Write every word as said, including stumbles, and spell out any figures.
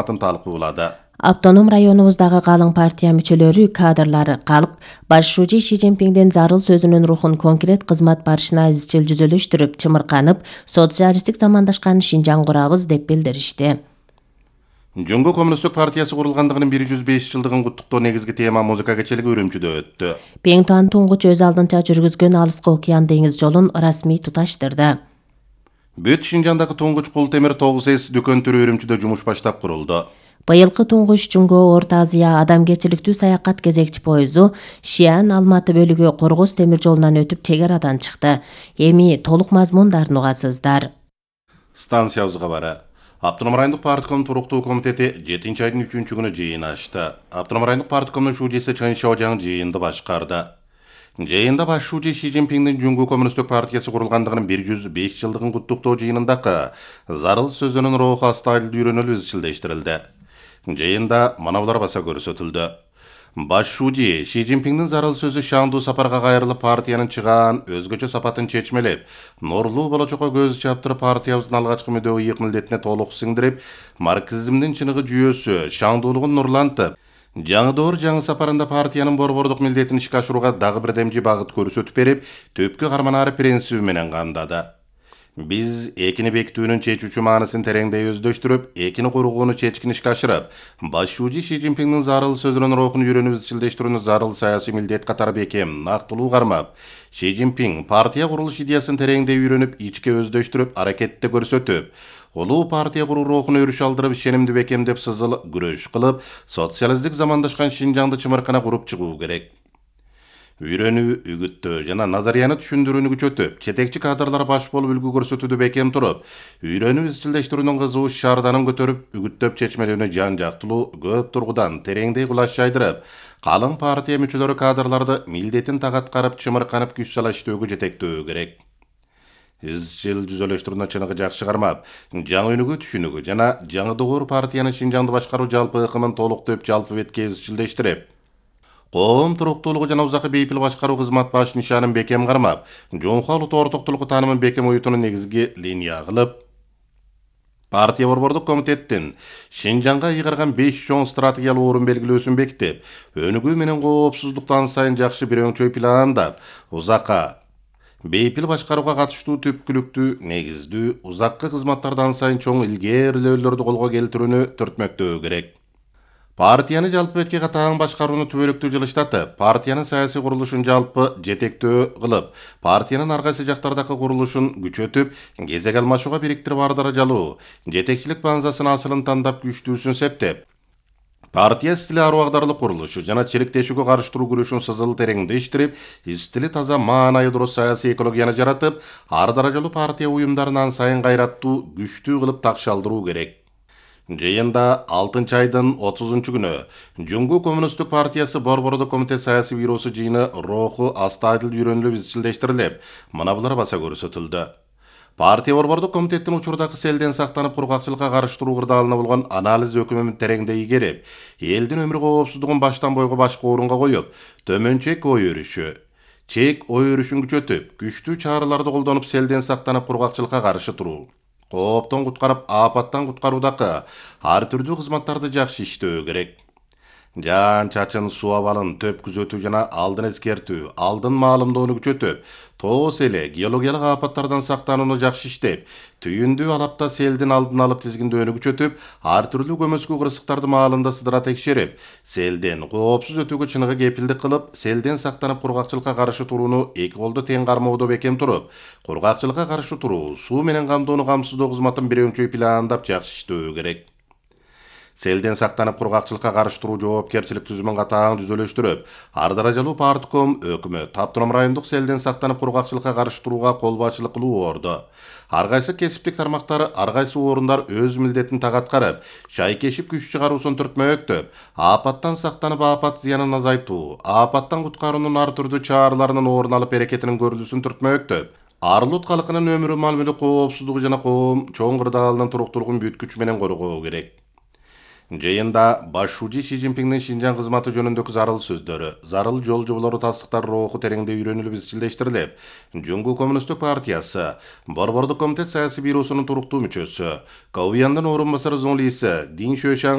атын талкуулады. Автоном районубуздагы калың партия мүчөлөрү, кадрлары калк башчы Ши Цзиньпиндин зарыл сөзүнүн рухун конкрет кызмат барышына изчил жүзөлөштүрүп, чымырканып, социалисттик замандашкан Шинжаң курабыз деп билдиришти. Жөнгө Коммунисттик партиясы курулгандыгынын бир жүз беш жылдыгын куттуктоо негизги тема музыка кечелиги Үрүмчүдө өттү. Пеңтуан туңгуч өз алдынча жүргүзгөн Алыскы океан деңиз жолун расмий туташтырды. Бүт Шинжаңдагы туңгуч кул темир тогуз эс дүкөн түрү Үрүмчүдө жумуш баштап курулду. Быйылкы туңгуч Жөнгө Орто Азия адамгерчиликтүү саякат кезекчи поезду Шиан Алматы бөлүгү Коргоз темир жолунан өтүп чек арадан чыкты. Эми толук мазмундарын угасыздар. Станциябыз кабары. Автоном райондук партком туруктуу комитети жетинчи айдын үчүнчү күнү жыйын ачты. Автоном райондук парткомдун шужесі Чын Шаожаң жыйынды башкарды. Жыйында башчы Ши Цзиньпиндин Жөнгө Коммунисттик партиясы курулгандыгынын бир жүз беш жылдыгын куттуктоо жыйынындагы зарыл сөзүнүн руху астайыл үйрөнүлүп изчилдештирилди. Жыйында мына булар баса көрсөтүлдү. Башчы Ши Цзиньпиндин зарыл сөзү шаңдуу сапарга кайрылып партиянын чыгаан өзгөчө сапатын чечмелеп, нурлуу болочокко көз чаптырып партиябыздын алгачкы мүдөө ыйык милдетине толук сиңдирип, марксизмдин чыныгы жүйөсү, шаңдуулугун нурлантып, жаңы доор жаңы сапарында партиянын борбордук милдетин ишке ашырууга дагы бир демжи багыт көрсөтүп берип, төпкү карманаары принциби менен камдады. Биз экини бекитүүнүн чечүүчү маанысын тереңдей өздөштүрүп, экини кургууну чечкин ишке ашырып, башчы Ши Цзиньпиндин зарыл сөзүнүн рухун үйрөнүп изчилдештирүүнү зарыл саясий милдет катары бекем, нактылуу кармап, Ши Цзиньпин партия курулуш идеясын тереңдей үйрөнүп, ичке өздөштүрүп, аракетте көрсөтүп, улуу партия куруу рухуна өрүш алдырып, ишенимди бекемдеп сызыл күрөш кылып, социалисттик замандашкан Шинжаңды чымыркана куруп чыгуу керек. Үйрөнүү, үгүттөө жана назарияны түшүндүрүүнү күчөтүп, жетекчи кадрлар баш болуп үлгү көрсөтүүдө бекем туруп, үйрөнүү изчилдештирүүнүн кызуу шаарданын көтөрүп, үгүттөп чечмелүүнү жан жактылуу көп тургудан тереңдей кулаш жайдырып, калың партия мүчөлөрү кадрларды милдетин так аткарып, чымырканып күч сала иштөөгө жетектөө керек. Изчил жүзөлөштүрүүнү чыныгы жакшы кармап, жаңы өнүгүү түшүнүгү жана жаңы доор партиянын Шинжаңды башкаруу жалпы ыкымын толуктоп, жалпы бетке изчилдештирип, коом туруктуулугу жана узакы бейпил башкаруу кызмат баш нишанын бекем кармап, жоңко улут ортоктулугу таанымын бекем уютууну негизги линия кылып, партия борбордук комитеттин Шинжаңга ыйгарган беш чоң стратегиялык орун белгилөөсүн бекитип, өнүгүү менен коопсуздукту ан сайын жакшы бир өңчөй пландап, узакка бейпил башкарууга катыштуу түпкүлүктүү, негиздүү, узаккы кызматтарды ан сайын чоң илгээрилөөлөрдү колго келтирүүнү түртмөктөө керек. Партияны жалпы бетке катаң башкарууну түбөлүктүү жылыштатып, партиянын саясий курулушун жалпы жетектөө кылып, партиянын ар кайсы жактардагы курулушун күчөтүп, кезек алмашууга бириктирип ар даражалуу, жетекчилик баңзасын асылын тандап күчтүүсүн септеп, партия стили аруу агдарлык курулушу жана чириктешүүгө карыштыруу күрөшүн сызыл тереңдештирип, стили таза маанайы дурус саясий экологияны жаратып, ар даражалуу партия уюмдарын ан сайын кайраттуу, күчтүү кылып такшалдыруу керек. Жыйында алтынчы айдын отузунчу күнү Жөнгө Коммунисттик партиясы борбордук комитет саясий бюросу жыйыны руху астайыл үйрөнүлүп изчилдештирилип, мына булар баса көрсөтүлдү. Партия борбордук комитеттин учурдагы селден сактанып кургакчылыкка карыштыруу кырдаалына болгон анализ өкүмүн тереңдей игерип, элдин өмүр коопсуздугун баштан бойго башка орунга коюп, төмөнчөк ой өрүшү, чек ой өрүшүн күчөтүп, күчтүү чараларды колдонуп селден сактанып кургакчылыкка каршы туруу, кооптон куткарып, апаттан куткаруудагы ар түрдүү кызматтарды жакшы иштөө керек. Жан чачын, суу абалын төп күзөтүү жана алдын эскертүү, алдын маалымдоону күчөтүп, тоос эле геологиялык апаттардан сактанууну жакшы иштеп, түйүндүү алапта селдин алдын алып тизгиндөөнү күчөтүп, ар түрдүү көмөскү кырсыктарды маалында сыдыра текшерип, селден коопсуз өтүүгө чыныгы кепилдик кылып, селден сактанып кургакчылыкка каршы турууну эки колду тең кармоодо бекем туруп, кургакчылыкка каршы туруу, суу менен камдоону камсыздоо кызматын бир өңчөй пландап жакшы иштөө керек. Селден сактанып кургакчылыкка каршы туруу жоопкерчилик түзүмүн катаң түзөлөштүрүп, ар даражалуу партком, өкмөт, автоном райондук селден сактанып кургакчылыкка каршы турууга кол башчылык кылуу орду. Ар кайсы кесиптик тармактары, ар кайсы орундар өз милдетин так аткарып, шайкешип күч чыгаруусун түртмөктөп, апаттан сактанып апат зыянын азайтуу, апаттан куткаруунун ар түрдүү чараларынын орун алып аракетинин көрүлүүсүн түртмөктөп, ар улут калкынын өмүрү, мал мүлк коопсуздугу жана коом чоң кырдаалынын туруктуулугун бүт күч менен коргоо керек. Жыйында баш шужи Си Цзиньпиңдин Шинжаң кызматы жөнүндөгү зарыл сөздөрү, зарыл жол жоболору тастыктар руху тереңде үйрөнүлүп изчилдештирилип, Жуңгу Коммунисттик партиясы Борбордук комитет саясий бюросунун туруктуу мүчөсү, Каобияндын орун басары Зоң Лиси Дин Шуэшан